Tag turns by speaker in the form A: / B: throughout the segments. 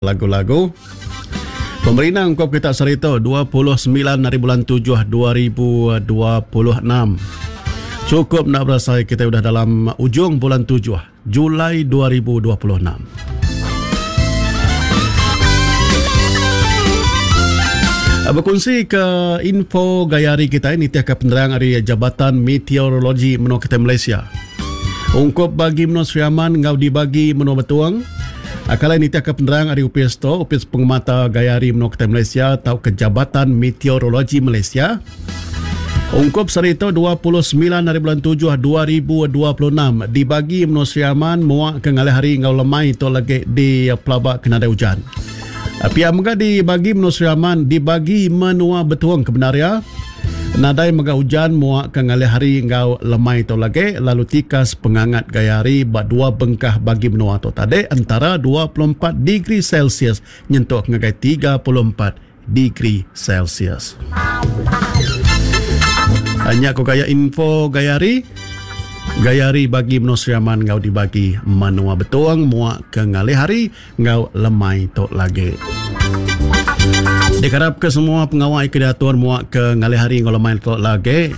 A: Lagu-lagu pemerindang ungkup kita sehari tu 29 hari bulan 7 2026. Cukup enda berasai kita udah dalam ujung bulan 7 Julai 2026. Bekunsi ke info gaya hari kita nitihka penerang ari Jabatan Meteorologi Menua Kita Malaysia. Ungkup bagi menua Sri Aman enggau dibagi menua Betong, Kalai nitihka penerang ari opis tu, Opis Pengemata Gaya Hari Menua Kitai Malaysia tauka Jabatan Meteorologi Malaysia, ungkup sehari tu 29 hari bulan 7 2026 dibagi menua Sri Aman muak ke ngalih hari enggau lemai tu lagi di pelaba ke nadai ujan. Pia mega dibagi menua Sri Aman dibagi menua Betong ke bendar iya. Nadai mega ujan muak ke ngalih hari enggau lemai tu lagi lalu tikas pengangat gaya hari ba dua bengkah bagi menua tu tadi entara 24 degree Celsius nyentuk ngagai 34 degree Celsius. Nya ku gaya info gaya hari. Gaya hari bagi menua Sri Aman enggau dibagi menua Betong muak ke ngalih hari enggau lemai tu lagi. Dikarapka semua pengawa ke diatur muak ke ngalih hari enggau lemai tu lagi.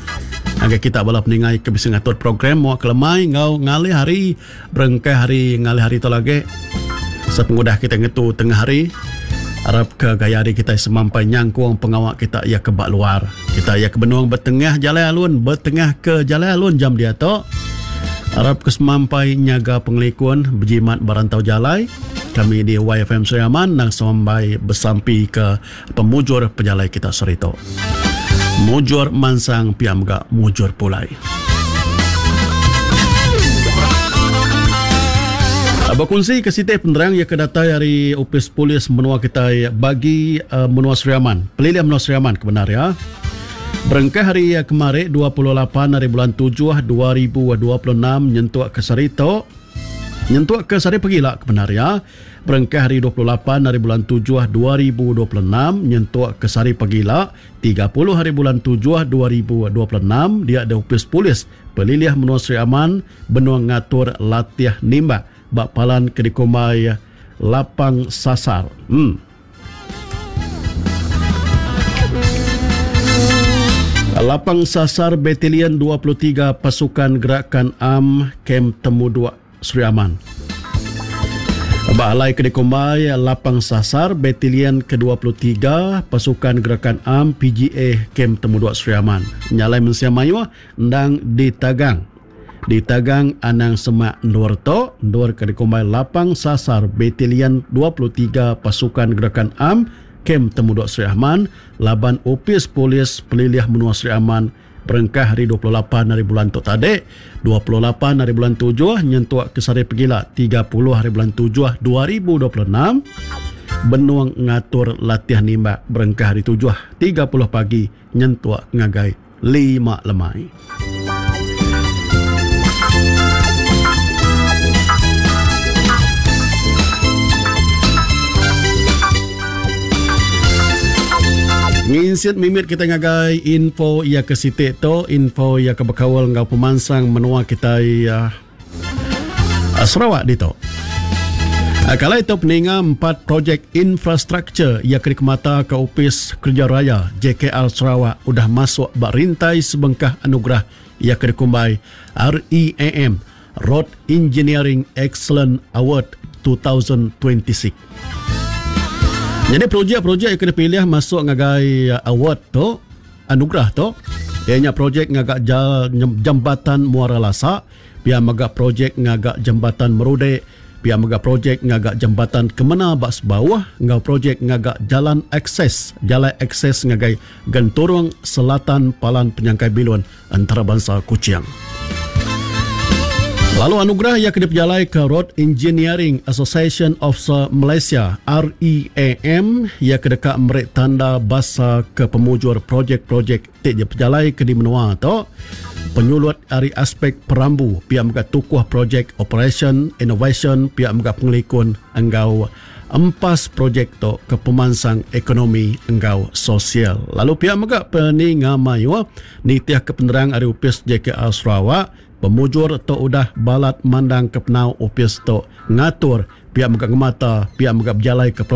A: Ngagai kita bala peningai ke bisi ngatur program muak ke lemai enggau ngalih hari berengkah hari ngalih hari tu lagi. Sepengudah kita ngetu tengah hari arapka gaya hari kita semampai nyangkung pengawa kita iya ke ba luar. Kita iya ke benung betengah jalai alun betengah ke jalai alun jam diatu. Arap ke semampai nyaga pengelikun bejimat ba rantau jalai. Kami di YFM Sri Aman nang semampai besampi ke pemujur pejalai kita sehari tu. Mujur mansang pia mega mujur pulai. Bekunsi ke siti penerang iya ke datai ari Opis Polis Menua kitai bagi menua Sri Aman, pelilih menua Sri Aman ke bendar iya. Berengkah hari kemari 28 hari bulan 7 2026 nyentuk ke sehari tu nyentuk ke sehari pegila ke bendar iya berengkah hari 28 hari bulan 7 2026 nyentuk ke sehari pegila 30 hari bulan 7 2026 dia di Opis Polis Pelilih Menua Sri Aman benung ngatur latih nimbak ba palan ke dikumbai Lapang Sasar. Hmm. Lapang Sasar Batalion 23 Pasukan Gerakan Am Kem Temuduk Sri Aman. Ba alai ke dikumbai Lapang Sasar Batalion ke-23 Pasukan Gerakan Am PGA Kem Temuduk Sri Aman. Nya alai mensia mayuh endang ditagang Ditagang anang semak endur tu, endur ke dikumbai Lapang Sasar Batalion 23 Pasukan Gerakan Am, Kem Temudok Sri Aman, laban Opis Polis Pelilih Menua Sri Aman berengkah hari 28 hari bulan tu tadi, 28 hari bulan tujuh nyentuk ke sehari pegila 30 hari bulan tujuh 2026, benung ngatur latih nimbak berengkah hari 7.30 pagi nyentuk ngagai 5 lemai. Nginsit mimit kita ngagai info iya ke siti tu, info iya ke bekaul enggau pemansang menua kitai uh, Sarawak ditu. Uh, Kalai tu peninga empat projek infrastruktur iya ke dikemata ke Opis Kerja Raya JKR Sarawak udah masuk ba rintai sebengkah anugerah iya ke dikumbai REAM Road Engineering Excellence Award 2026. Nyadi projek-projek ke dipilih masuk ngagai award tu, anugerah tu, iya nya projek ngaga jambatan Muara Lasa, pia mega projek ngaga jambatan Merudek, pia mega projek ngaga jambatan Kemena ba Sebauh enggau projek ngaga jalan akses jalai akses ngagai Genturung Selatan Palan Penyangkai Bilun Entarabansa Kuching. Lalu anugerah iya ke dipejalaika Road Engineering Association of Malaysia, REAM, iya ke deka meri tanda basa ke pemujur projek-projek ti dipejalaika di menua tu, penyulut ari aspek perambu pia mega tukuh projek operasyen, inovasyen pia mega pengelikun enggau empas projek tu ke pemansang ekonomi enggau sosial. Lalu pia mega peninga mayuh nitihka penerang ari Opis JKR Sarawak, pemujur tu udah balat mandangka penau opis tu ngatur. pia mega ngemata, pia mega bejalaika projek.